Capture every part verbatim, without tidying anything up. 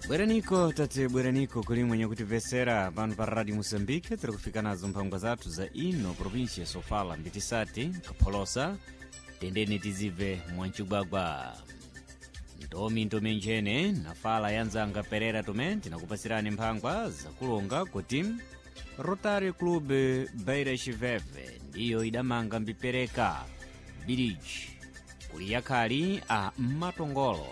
Bweraniko tate bweraniko kuli mwenye kutimvesera pano pa Radio Moçambique. Tiri kufika nazo mphangwa zathu za ino província Sofala, mbitisati kapholosa tendeni tizibve mwancigwagwa ntomi ntomi nchene nafala yanzanga Perera Tome tinakupasirani mphangwa zakulonga kuti Rotary Club Beira Chiveve ndiyo idamanga mbipereka bridge kuli yakhali a matongolo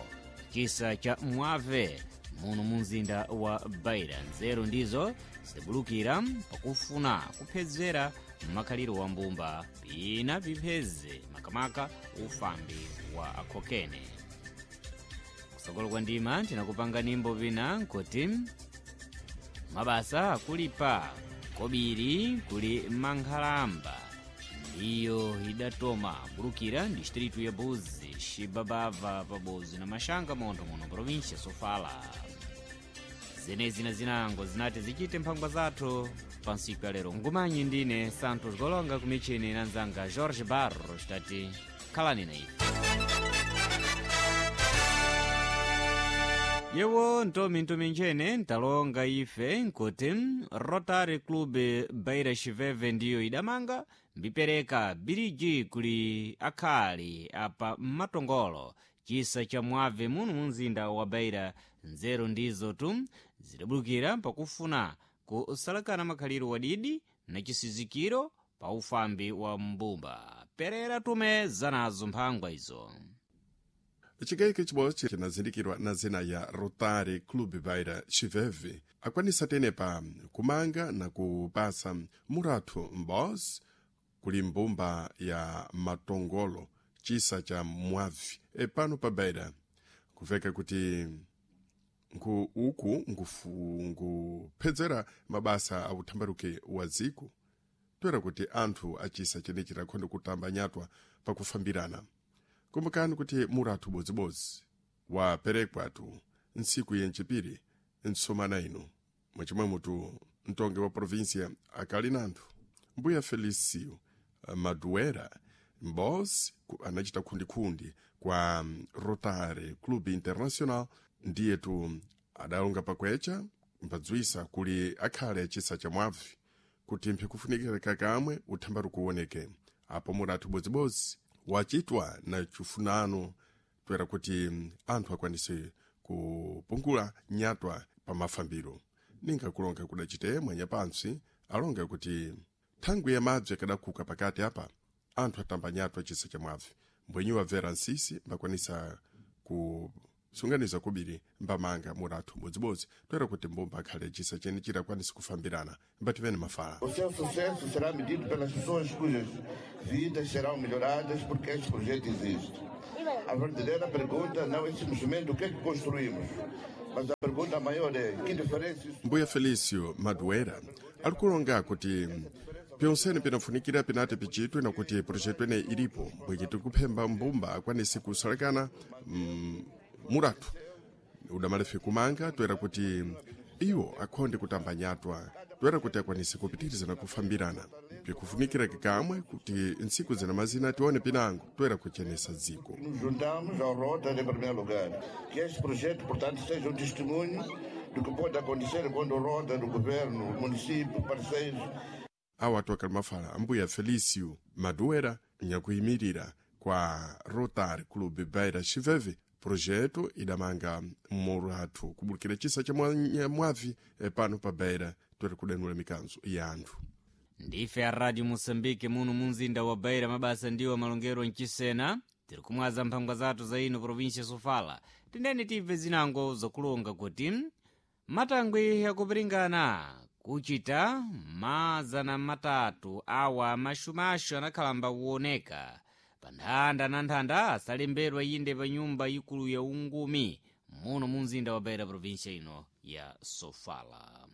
chisa cha mwave muno mu mzinda wa Beira. Nzeru ndizo zidabulukira pakufuna kuphedzera makhaliro wa mbumba pina pipheze makamaka ufambi wa akhokene. Kusokolo kwa ndima tinakupanga nimbo pina nkuti mabasa akulipa kobiri kuli mankhalamba ndiyo idatoma bulukira distritu ya Buzi xibabava pabozi na maxanga montho muno província Sofala. Zenezi na zinango zinati zichite mphangwa zathu pa ntsiku ya lero. Ngumanyi ndine Santos Golonga kumichini na nzanga Jorge Barros tati khalani na ife. Yewo ntomi ntomi nchene ntalonga ife nkuti Rotary Club Beira Chiveve ndiyo idamanga mbipereka biriji kuli akhali apa matongolo chisa cha mwave muno mu mzinda wa Beira. Nzeru ndizo tu zidabulukira pakufuna kusalakana makhaliro wadidi na chisizikiro pa ufambi wa mbumba. Perera Tume zanazo mphangwa izo. Chikayiko chibodzi chinazindikirwa na zina ya Rotary Club Beira Chiveve akwanisa tenepa kumanga na kupasa murathu m'bozi kuli mbumba ya matongolo chisa cha mwavi epano pa Beira. Kuveka kuti nku uku nkufu- nkuphedzera mabasa a uthambaruke wa dziko toera kuti anthu achisa chenechi rakhonde kutamba nyatwa pakufambirana. Kumbukani kuti murathu bodzibodzi waperekwatu ntsiku yencipiri ntsomana ino mwachimwe mutu mtongi wa província akali nanthu mbuya Felicio Maduera m'bozi ku- anachita khundikhundi kwa mm, Rotary Club International ndiyetu adalonga pakwecha mbadzwisa kuli akhale achisa cha mwavi kuti mphikufunikira kamwe uthambaru kuwoneke apo murathu bodzibodzi wachitwa na chifunano toera kuti mm, anthu akwanise kupungula nyatwa pa mafambiro. Ninga kulonga kudachite mwanya pantsi alonga kuti thangwi ya madzi akadakhuka pakati apa anthu atamba nyatwa chisa cha mwavi mbwenyi wabvera nsisi mbakwanisa kusunganiza kubiri mbamanga murathu bodzibodzi toera kuti mbumba akhale chisa chene chirakwanisa kufambirana mbativene mafala. O seu sucesso será medido pelas pessoas cujas vidas serão melhoradas porque este projeto existe. A verdadeira pergunta não é simplesmente o que é que construímos, mas a pergunta maior é que diferença isso Mbuya Felicio Maduera ali kulonga kuti pyonsene pinafunikira pinati pichitwe na kuti projeto ene ilipo mbwenye tikuphemba mbumba akwanise kusalekana mm, murathu udamalefe kumanga toera kuti iwo akhonde kutamba nyatwa toera kuti akwanise kupitiriza na kufambirana pikufunikira kikamwe kuti ntsiku zina mazina tione pinango toera kuchenesa dziko. Nos juntamos ao Rotary em primeiro lugar. Que este projeto, portanto, seja um testemunho do que pode acontecer quando o Rotary, o governo, o município, parceiros Awa atu akali mafala ambuya Felicio Maduera nyakuyimirira kwa Rotary Club Beira Chiveve projeto idamanga murathu kubulukira chisa cha mwa- mwavi eh, pano pa Beira toera kudanula mikanzo ya anthu. Ndife a Radio Moçambique muno mu mzinda wa Beira. Mabasa ndiwo malongero mchisena tiri kumwaza mphangwa zathu za ino província Sofala. Tendeni tibve zinango zakulonga kuti matangwi yakupiringana kuchita mazana matatu awa maxumaxu anakhalamba kuoneka pa nthanda na nthanda asalembedwa inde pa nyumba ikulu ya ungumi muno mu mzinda wa Beira província ino ya Sofala.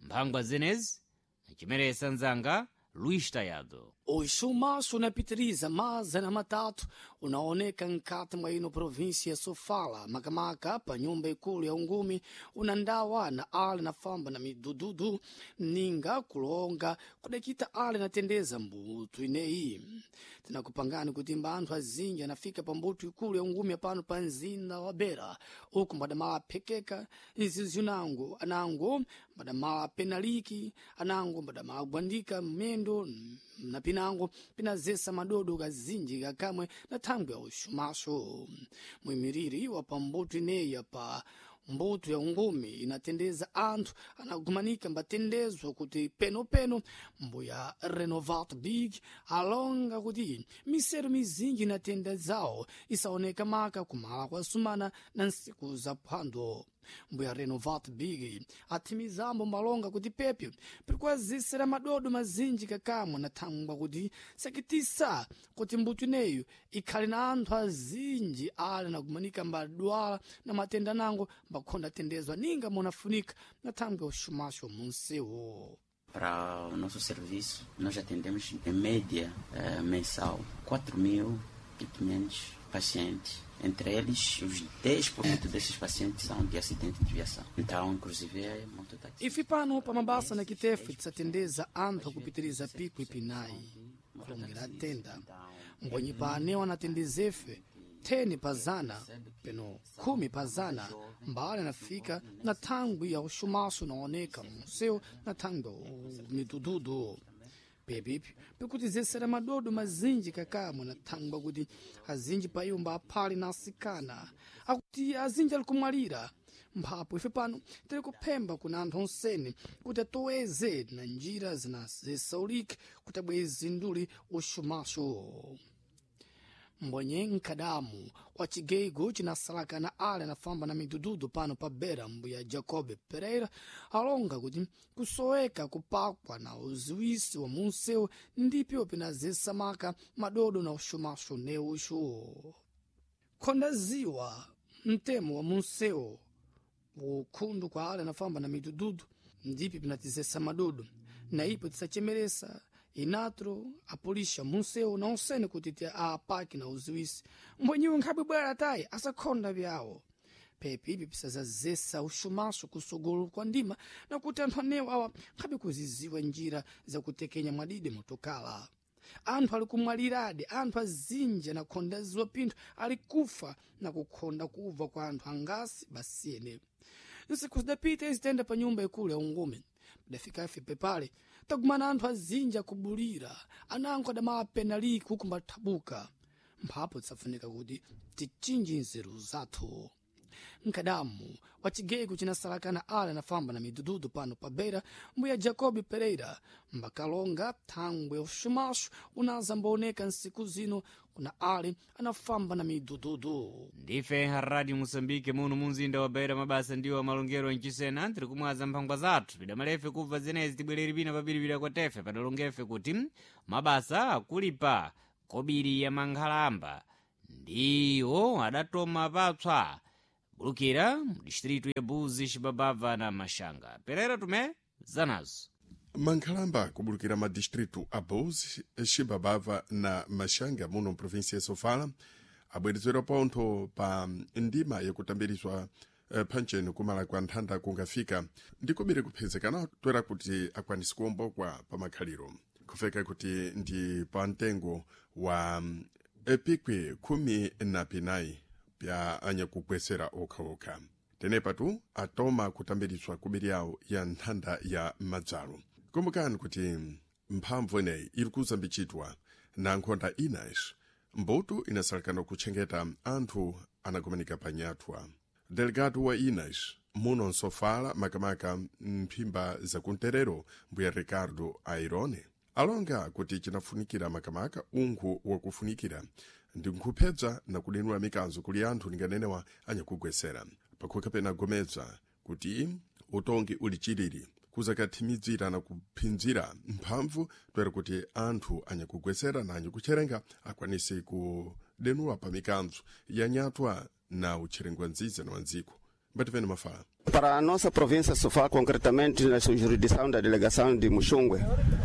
Mphangwa zenezi nachimeresa nzanga Luís Taiado. O chumaço unapitiriza mazana matatu unaoneka nkati mwa ino província ya Sofala, Makamaka pa nyumba ikulu ya ungumi unandawa na ale na famba na midududu ninga kulonga kudakita ale natendeza mbutu ineyi. Tinakupangani kuti mbanthu azinji anafika pa mbutu ikulu ya ungumi pano pa mzinda wa Beira, uku mbadamala aphekeka nzizi anango mbadamala penaliki anango mbadamala agwandika mmendo na pinango pinazesa madodo kazinji kakamwe na thangwi ya uxumaxo. Muimiriri wa pambuto ineyi pa mbuto ya ungumi inatendeza anthu anagumanika mbatendezwa kuti penopeno mbuya Renovat Big alonga kuti misero mizinji inatenda zawo isaoneka maka kumala kwa sumana na nsiku za phwando. Mbuya Renovat Big athimizambo malonga kuti pepyo pirikwazisira madodo mazinji kakamwe na thangwa kuti sakitisa kuti mbuto ineyo ikhale na anthu azinji ali nakumanika mbadwala na matenda nango mbakhonda atendezwa ninga munafunika na thangwi ya uxumaxo munsewo. Para o nosso serviço, nós atendemos em média eh, mensal quatro mil e quinhentos pacientes. Entre eles, os dez por cento desses pacientes são de acidente de viação. Então, inclusive, é mototáxi. Ife pano pamabasa na kitefe tisatendeza anthu akupitiriza pico ipinayi kulongera tenda mbonyi pane wanatendezefe theni pazana peno khumi pazana mbali anafika na thangwi ya uxumaxo unaoneka munsewu na thangwi ya midududu. Pepipi pikutizesera madodo mazinji kakamwe na thangwa kuti azinji paiwo mbaphali na asikana akuti azinji ali kumwalira. Mphapo ife pano tiri kuphemba kuna anthu onsene kuti atoweze na njira zinazesaulike kuti abweze nduli uxumaxo. Mbonye nkadamu wa chigeigo chinasalakana ale anafamba na midududu pano pa Beira, mbuya Jacob Pereira alonga kuti kusoweka kupakwa na uziwisi wa munsewu ndipyo pinazesa maka madodo na uxumaxo neuxo. Khonda ziwa mtemo wa munsewu ukhundu kwa ale anafamba na midududu ndipyo pinatizesa madodo na ipo tisachemeresa inatro apolisha munsewu na onsene kuti ti apaki na uziwisi mbwenyiwe nkhabwe bwera tayi asakhonda byawo. Pepi ipi pisazazesa uxumaxo kusogolo kwa ndima na kuti anthu anewo awa nkhabe kuziziwa njira zakutekenya mwadide motokala. Anthu ali kumwaliradi, anthu azinji anakhonda ziwa pinthu ali kufa na kukhonda kubva kwa anthu angasi basiyene. Nsiku zidapita izitenda pa nyumba ikulu ya ungumi padafika ife pepale tagumana anthu azinji akubulira anango adamala penaliki huku mbathabuka. Mphapo tisafunika kuti tichinji nzeru zathu. Nkadamu wa chigeko chinasalakana ale anafamba na midududu pano pa Beira, mbuya Jacob Pereira mbakalonga thangwe uxumaxo unazambaoneka nsiku zino kuna ale anafamba na midududu. Ndife Radio Moçambique muno munzinda wa Beira, mabasa ndiwo amalongero mchisena tiri kumwaza mphangwa zathu pidamalefe kubva zenezi tibwereri pina papiripira kwa tefe padalongefe kuti mabasa akulipa kobiri ya mankhalamba ndiwo adatoma papswa bulukira mu distritu ya Buzi, Xibabava na Maxanga. Pereira Tomé zanazo. Mankhalamba kubulukira madistritu a Buzi, Xibabava na Maxanga muno mprovinsia ya Sofala abwerezedwa pontho pa ndima yakutambirizwa eh, phancheni kumala kwa nthanda kungafika ndikubiri kuphezekana toera kuti akwanise kuwombokwa pa makhaliro kufeka kuti ndi pa mtengo wa epikwi khumi na pinayi pya anyakugwesera okhaokha. Tenepatu atoma kutambirizwa kubiri yawo ya nthanda ya madzalo. Kumbukani kuti mphamvu ineyi iri kuzambichitwa na nkhonda inayi mbuto inasalekana kutchengeta anthu anakumanika pa nyathwa. Delegado wa Inas muno nsofala makamaka mphimba zakumterero mbuya Ricardo Airone alonga kuti chinafunikira makamaka unkhu wakufunikira ndi nkhupedza na kudenula mikanzo kuli anthu linganenewa anyakugwesera pakhoka pena gomedza kuti utongi uli chilili kuzakathimidzira na kuphinzira mphamvu toera kuti anthu anyakugwesera na anyakutcherenga akwanise kudenula pa mikanzo ya nyatwa na utcherengwa nziza na wandziko. Mbativene mafala. Para a nossa província Sofala, concretamente na sua jurisdição da delegação de Muxungue,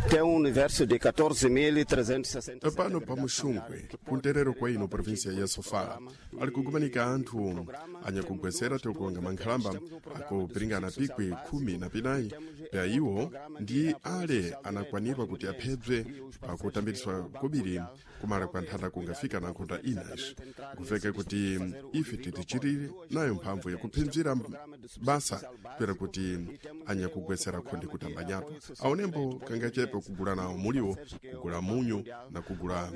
tem um universo de catorze mil trezentos e sessenta. Pano pa Muxungwe, kunterero kwa ino província ya Sofala, ali kugumanika anthu anyakugwesera tikukonga mankhalamba akupiringana pikwi khumi na pinayi pya iwo ndi ale anakwanirwa kuti aphedwe pakutambiriswa kobiri kumala kwa nthanda kungafika na nkhunda inaci. Kuveke kuti ife titichirire nayo mphamvu yakuphinzira basa toera kuti anyakugwesera khonde kutambanyatwa aonembo kangachepe kugula nawo muliwo, kugula munyu na kugula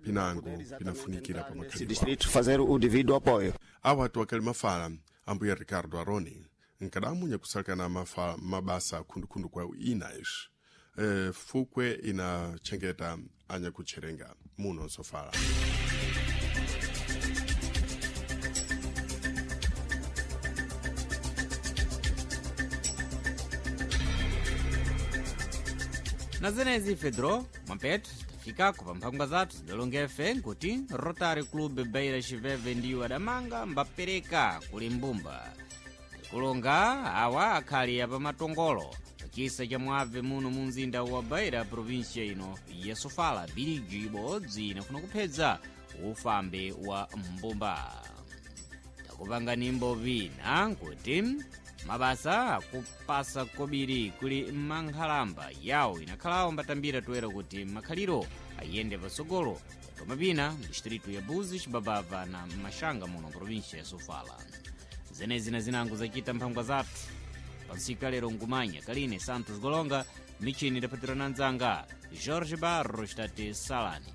pinango pinafunikira pa makhalidwe. Distrito fazer o devido apoio. Awa atu akali mafala ambuya Ricardo Aroni, nkadamu nyakusalakana mafa, mabasa khundukhundu kwa inaci e, fukwe inachengeta anyakutcherenga muno Sofala. Na zenezi, Fedro Mwampetu, tafikako pa mphangwa zathu zidalongefe nkuti Rotary Club Beira Chiveve ndiwo adamanga mbapereka kuli mbumba kulonga awa akhali apamatongolo pachisa cha mwabve muno mu mzinda wa Beira, provinsia ino ya Sofala. Biliji ibodzi inafuna kuphedza ufambe wa mbumba. Takupanga nimbo vina nkuti mabasa akupasa kobiri kuli mankhalamba yawo inakhalawo mbatambira toera kuti makhaliro ayende patsogolo yatoma pina mdistritu ya Buzi, Chibabava na Mashanga muno provinsia ya Sofala. Zenezi na zinango zachita mphangwa zathu pansika lero ngumanya kaline Santos Golonga, michini idaphatirana nzanga Jorge Barros tate Salani.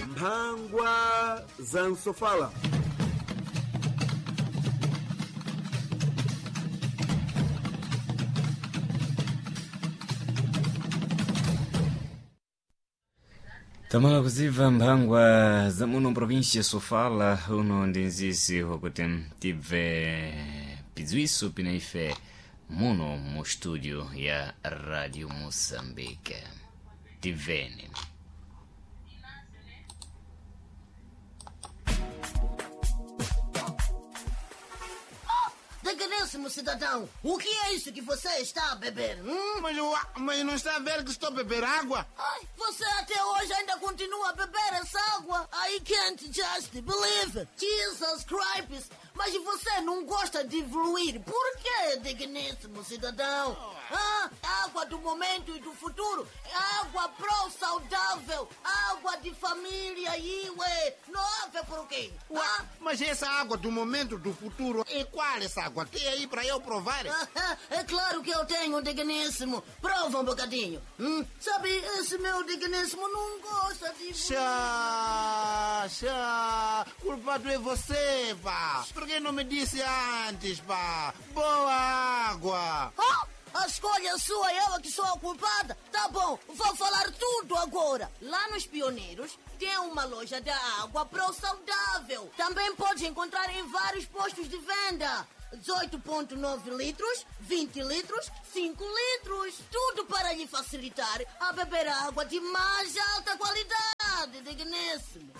Mphangwa za Nsofala. Tamala kuziva mphangwa za muno província Sofala. Uno ndi nzisi wakuti tibve pidziwiso pina ife muno mu studio ya Radio Moçambique. Tibveni. Digníssimo cidadão, o que é isso que você está a beber? Hum? Mas, eu, mas não está a ver que estou a beber água? Ai, você até hoje ainda continua a beber essa água? I can't just believe it. Jesus Christ! Mas você não gosta de evoluir. Por quê, digníssimo cidadão? Ah, água do momento e do futuro. Água pró-saudável. Água de família, iwe. Não há por quê? Ah? Mas essa água do momento do futuro, é qual essa água? Tem aí para eu provar? É claro que eu tenho, digníssimo. Prova um bocadinho. Hum? Sabe, esse meu digníssimo não gosta de... Chá, chá. Culpado é você, pá. Por que não me disse antes, pá? Boa água. Oh, a escolha é sua, eu é que sou a culpada. Tá bom, vou falar tudo agora. Lá nos Pioneiros tem uma loja da água pro saudável. Também pode encontrar em vários postos de venda. dezoito vírgula nove litros, vinte litros, cinco litros. Tudo para lhe facilitar a beber água de mais alta qualidade, digníssimo.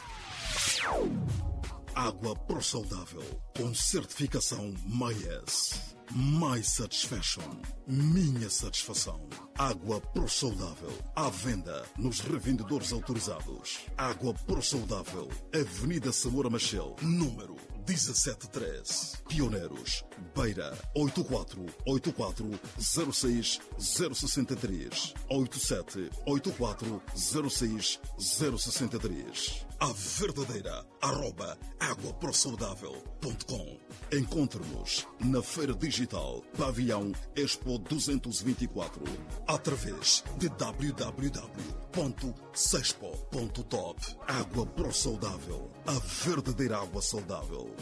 Água Pro Saudável, com certificação MyS. My Satisfaction. Minha satisfação. Água Pro Saudável. À venda nos revendedores autorizados. Água Pro Saudável. Avenida Samora Machel, número mil setecentos e treze. Pioneiros. Beira, oito quatro oito quatro zero seis zero seis três, oito sete oito quatro zero seis zero seis três. A verdadeira arroba aguaprosaudável ponto com. Encontre-nos na Feira Digital Pavilhão Expo duzentos e vinte e quatro através de w w w ponto sexpo ponto top. Água Pro Saudável, a verdadeira água saudável.